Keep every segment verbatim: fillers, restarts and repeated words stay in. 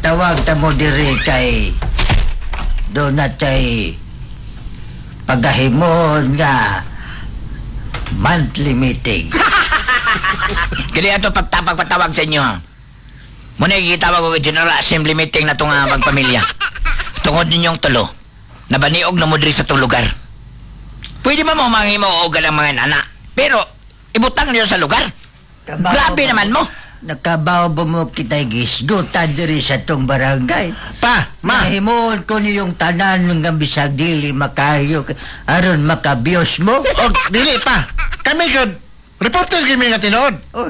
Nagtawag ta mo diri kay doon na tay pagahimon nga monthly meeting. Kini ato pagtapag patawag sa inyo ha. Muna gitawag og General Assembly meeting na itong uh, magpamilya. Tungod ninyong tulo. Nabaniog na mo diri sa itong lugar. Pwede ba mo manghimo og ang mga anak? Pero ibutang niyo sa lugar. Kabaw Grabe ba- naman mo. Nakabaw ba mo kita gisgutan diri sa tong barangay? Pa, ma, Mahimuon ko niyong tanan nga bisag dili makayo aron makabiyos mo. og dili pa. Kami gud reporter gyud mi nga tinuod. Oh,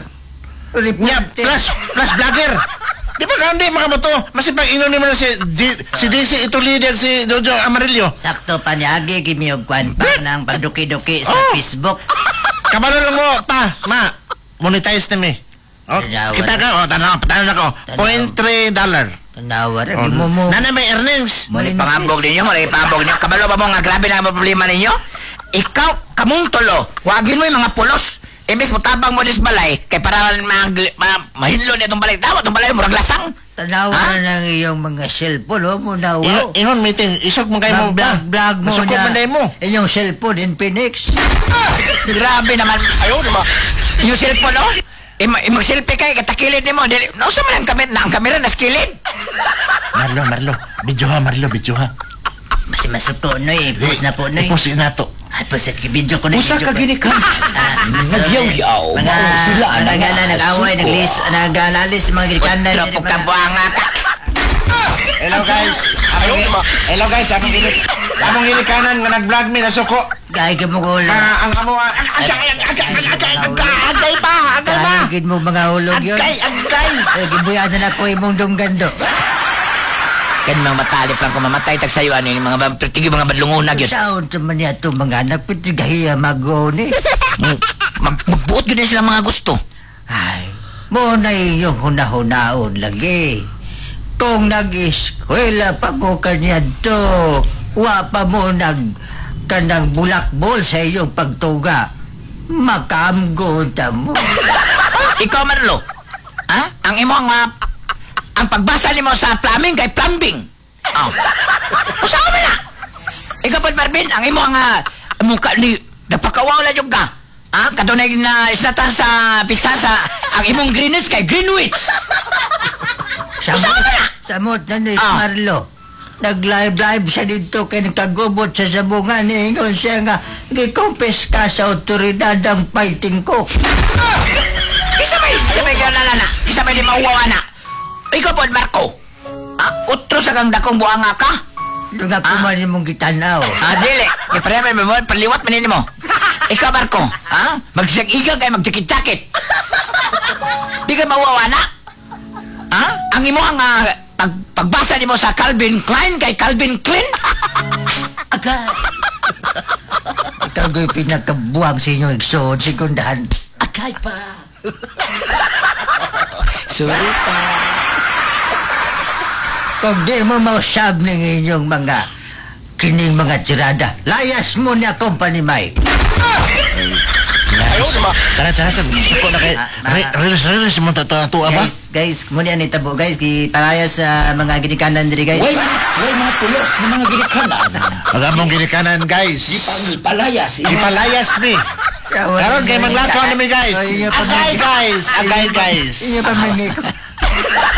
Nya reporter. plus plus vlogger. Di ba kandi mga bato, masipag ingon nimo na si D, si D C Itulidag, si Jojo Amarillo. Sakto pa niya, agi kimi og kwan pa ng pagduki-duki sa Oh. Facebook. Kabalo lang mo, pa, ma, monetize na mi. Oh, Tanawa kita ka, oh, tanaw, tanaw ako. Tanaw. zero point three dollar. Tanawa ra Oh, mo mo. Nana may earnings. Muna pangambog ninyo, muna pangambog ninyo. Kabalo ba mo nga grabe na ang problema ninyo? Ikaw, kamong tulo, wagin mo yung mga pulos. Imbes mo tabang mo dis balay, kay para mag, ma, mahinlo na itong balay. Tawa, itong balay, murag lasang. Tanawa Ha? ra ng iyong mga cellphone, oh, mo na Ingon, wow. ingon meeting, isog man kayo mo ba? Mag-vlog vlog mo Masuko na man dahil mo. inyong cellphone Infinix. Grabe naman. Ayaw naman. Yung cellphone, oh. E, mag-selfie kay, katakilid ni mo. Dili, no, sa man ang kamera, na ang kamera, naskilid. Marlo, Marlo, video ha, Marlo, video ha. Mas masuko no eh, post na po no eh. I-post na to. Ay, post video ko na. Usa video ka ko. ginikan. Ah, Nagyaw-yaw. Mga Mao sila mga na gana nag-away, suko. naglis, nagalalis mga ginikanan. Otro po ka buanga ka. Hello guys. Among, hello guys, among ginik among ginikanan nga nag-vlog mi nasuko. Gay ka mo ulo. Ah, ang amo ah, agay agay agay agay agay agay pa, agay pa. Gay mo mga hulog yun. Agay, agay. Eh, gibuyan na ako imong dunggando. Kan mga matalip lang kung mamatay tag sayo ano yung mga ba- tigi mga badlungunag yun. Saon sa man niya ito mga anak, pitigahiya magoni. Mag, magbuot yun sila mga gusto. Ay, mo na inyong hunahunaon lagi. Kung nag-eskwela pa mo kanya to, wa pa mo nag kanang bulakbol sa iyong pagtuga. Makamgo ta mo. Ikaw, Marlo. Ha? Ang imo ang mga ang pagbasa nimo sa plumbing kay plumbing. Oh. Usaha mo na. Ikaw po, Marvin, ang imo ang uh, mukha ni nagpakawaw lang yung ka. Ha? Katunay na isnatan sa pizza sa ang imong Greenwich kay Greenwich. Samot, Usaha mo na. samot na ni Ah. Marlo. Nag-live-live siya dito kay nagkagubot sa sabungan. Niingon siya nga, gikumpis ka sa otoridad ang fighting ko. Isa may, isa may na na na. Isa may di mauwaw na. Ikaw po, Marco. Ah, utro sa kang dakong buanga ka. Yung ako Ah. man imong gitanaw. Ah, dili. Kaya pareha may mo, paliwat man mo. Ikaw, Marco, ha? Magsag-iga kay magjakit-jakit. Di ka mauwaw na. Ha? Ang imo ang ah, pag, pagbasa nimo sa Calvin Klein kay Calvin Klein? Agay. Ikaw ko'y pinakabuwag sa inyong igsoon, segundahan. Agay pa. Sorry pa. Kung di mo mausab ng inyong mga kining mga tirada, layas mo niya company Mike. Tara, tara, tara. Gusto ko na kay Re- Reels, reels mo tatua ba? Guys, guys, muna ni tabo guys, giparaya sa mga ginikanan diri guys. Way, way mga pulos ng mga ginikanan. Ang among ginikanan, guys. Gipalayas. Ipalayas mi. Karon kay manglakaw na mi guys. Ay, inyo pa Agay guys, agay guys. Inyo pa mangi